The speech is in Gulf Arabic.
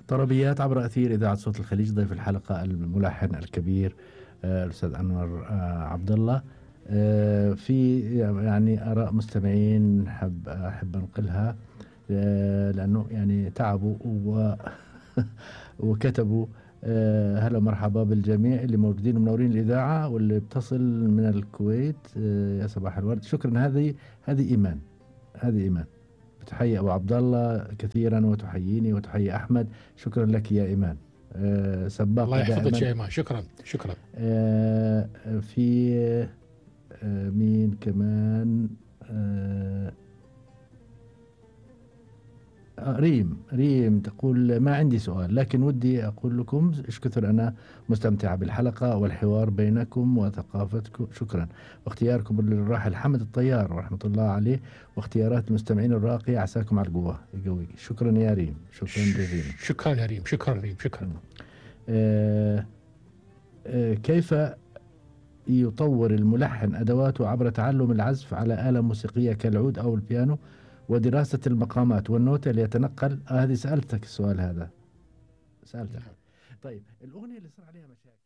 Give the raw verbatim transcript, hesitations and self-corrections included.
طربيات عبر أثير إذاعة صوت الخليج. ضيف الحلقة الملحن الكبير آه، الأستاذ أنور آه، عبد الله. آه، في يعني آراء مستمعين حب أحب أنقلها، آه، لأنه يعني تعبوا و وكتبوا. آه، هلا مرحبا بالجميع اللي موجودين ومنورين الإذاعة واللي بتصل من الكويت. آه، يا صباح الورد. شكرا. هذه هذه إيمان، هذه إيمان بتحيي أبو عبد الله كثيرا وتحييني وتحيي أحمد. شكرا لك يا إيمان. أه سباقة الله يحفظك دائما. يا إيمان. شكرا شكرا. أه في أه مين كمان؟ أه آه، ريم ريم تقول ما عندي سؤال، لكن ودي أقول لكم إيش كثر أنا مستمتعة بالحلقة والحوار بينكم وثقافتكم. شكرا. واختياركم للراحل حمد الطيار رحمة الله عليه، واختيارات المستمعين الراقية عساكم على القوة يقويك. شكرا يا ريم. شكرا جزيلا. شكرا يا ريم. شكرا ريم. شكرا. آه آه كيف يطور الملحن أدواته عبر تعلم العزف على آلة موسيقية كالعود أو البيانو ودراسة المقامات والنوتة ليتنقل؟ آه هذه سألتك السؤال هذا، سألتك. طيب الأغنية اللي صار عليها مشاكل